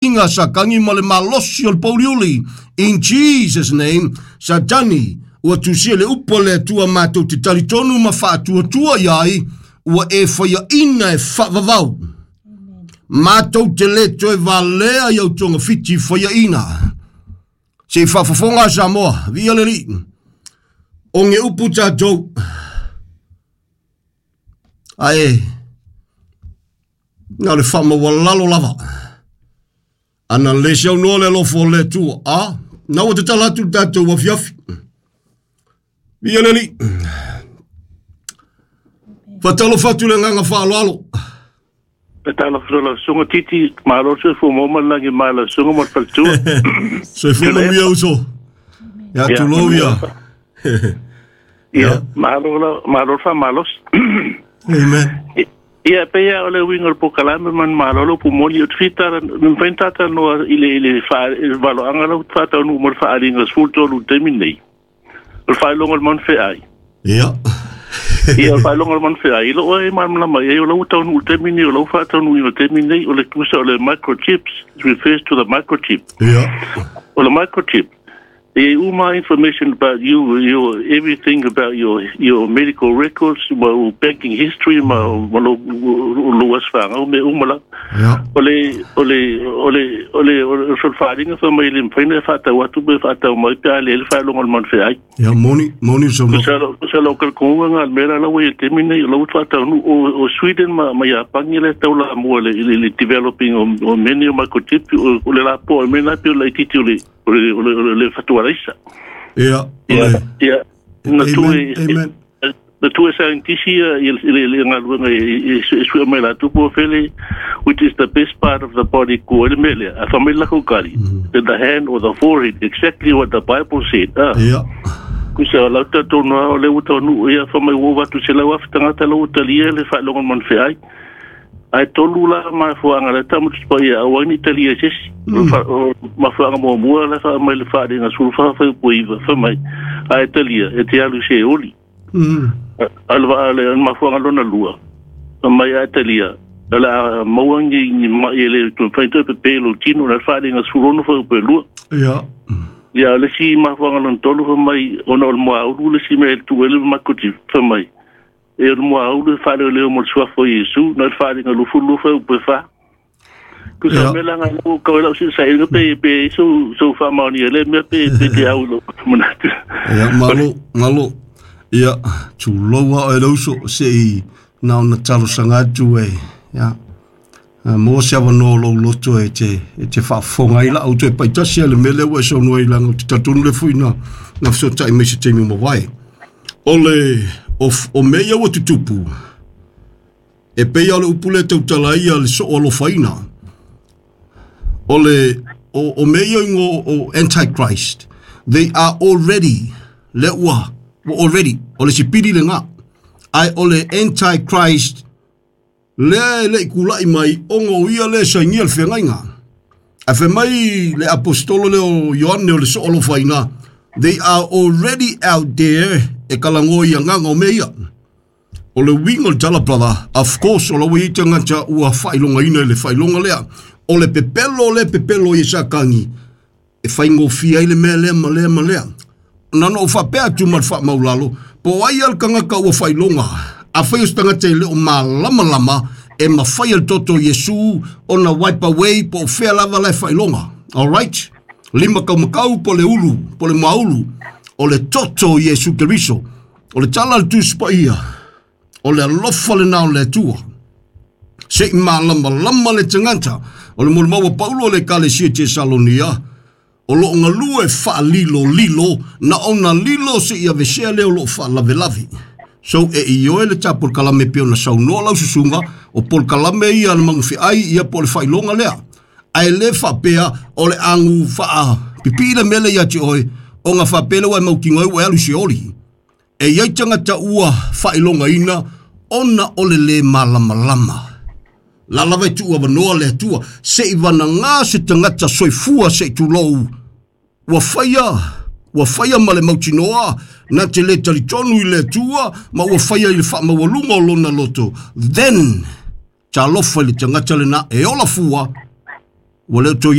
Inga Satani ma le malosi o le pouliuli. In Jesus name, Satani, ua tusia le upu a le Atua matou te talitonu ma faatuatua i ai, ua e faiaina e faavavau. Matou te le toe valea i au togafiti faiaina. Se i faafofoga a Samoa, viia le Alii. O ge upu tatou, ae na o le faamaualalo lava. Ana le saunoa le alofa o le Atua, a, na ua tatala atu le tatou afiafi. Viia le Alii. Faatalofa atu le agaga faaaloalo. Faatalofa lau susuga Titi, malo le soifua maua ma le lagi ma lau susuga ma le faletua. Soifua manuia uso. Ia tulou ia. Ia, malo la, malo le faamalosi. Amen. Ia, pei lava o le uiga o le polokalame ma le malo le upu moni, ou te fia tala, na mafai ona talanoa i le, i le, faa, i le valoaga la ua faataunuu mo le faaaliga 13 i le taimi lenei. O le faailoga o le manufeai. Ia. Ia, o le faailoga o le manufeai, i lou e malamalama i ai, o la ua taunuu i le taimi lenei, o la ua faataunuuina i le taimi lenei, o le tusa o le microchips, it refers to the microchip. Ia. O le microchip, E i ai uma information about you, your everything about your your medical records, ma ou banking history, ma ma lou lou aso fanau, mea uma lava. Ia. O le o le o le o le o le solofaaaliga fai mai e le mafai ona e faatau atu pe faatau mai pe a leai le faailoga o le manufeai. Ia, moni, moni le saunoaga. Tusa lo tusa lou talitonuga lena i le mea la la ua i ai i le taimi lenei, o la ua faataunuu o o Sweden ma ma Iapani lea e taulamua i le i le developing o o mea nei o microchip, o le lapoa o le mea lena e pei o le laitiiti o le o le, o le, o le fatualaisa. Ia, Ia, ia, na tu Amen, amen. na tu e scientist ia i le, le galuega e sue mai latou po o fele, which is the best part of the body ko ai le mea lea. A fai mai le latou tali, the hand or the forehead, exactly what the Bible said. Ah. Ia. Kusa lau talitonu lava o lea ua taunuu ia fai mai ua ova atu i 100,000 tagata la ua talia le faailoga o le manufeai. Ae tolu la mafuaaga lea tamaiti paia aua ai ne i talia e se isi. O mafuaaga muamua la e faa mai le faaaliga 14 fuaiupu e 9 fai mai, a e talia e te alu i Seoli. A o le mafuaaga lona lua, fai mai a e talia o le a maua ni ni mai e le mafai ona toe pepe i lou tino, o le faaaliga 16 fuaiupu e 2. Ia. Ia, o le isi mafuaaga lona tolu fai mai ona o le muaulu le isi mea e tuu ai le microchip fai mai E o le muaulu e faaleoleo mo le suafa o Iesu, na le faaaliga 22 fuaiupu e 4. Tusa o mea la nga lau kau e lau sailiga pe pe ai sou sou faamaonia i lea mea pe pe te au i lou manatu. Ia, malo, malo. Ia, tulou a oe le uso, se i na ona talosaga atu e, ia, maua se avanoa o lou loto e te, e te faafofoga ai lau toe paitasi a le mea lea ua e saunoa ai leaga ou te talitonu lea foi na, na fesootai mai se taimi ua mavae. O le, o, o mea ia ua tutupu, e pei lava o le upu lea e tautala ai ia le soo alofaina. O le, o, o mea ia ingoa o Antichrist, they are already, lea ua, ua already, o le sipili lena. Ae o le Antichrist, lea e le i tulai mai ona o ia lea e sainia le feagaiga. Ae fai mai le aposetolo lea o Ioane o le soo alofaina, they are already out there e talanoa i agaga o mea ia. O le uiga o le tala brother, of course o la ua i ai tagata ua faailogaina i le faailoga lea. O le pepelo lea e pepelo ai e Satani, e faigofie ai le mea lea ma lea ma lea. Na ona ou faapea atu ma le faamaulalo, po o ai lava le tagata ua faailoga, afai o se tagata e le o malamalama, e mafai e le toto o Iesu ona wipe away po o fea lava la e faailoga. Alright? Lima taumatau po o le ulu, po o le muaulu, o le toto o Iesu Keriso. O le tala a le Tusi Paia, o le alofa lena o le Atua. Se i malamalama le tagata, o le molimau a Paulo i le Ekalesia Tesalonia, o lo o galue faalilolilo, na ona lilo se i avesea lea o lo o faalavelave. So e ioe le ta polokalame pei ona saunoa lau susuga, o polokalame ia a le magufeai ia po o le faailoga lea. Ae le faapea o le agu faapipii le mea lea ia te oe, ona faapea lea ua e mautinoa ai ua e alu i Seoli. E i ai tagata ua faailogaina ona o le lē malamalama. La lava e tuu avanoa le Atua se i vanagā se tagata soifua se i tulou ua faia ua faia ma le mautinoa na te lē talitonu i le Atua ma ua faia i le faamaualuga o lona loto, then talofa i le tagata lena e ola fua. Ua le o toe.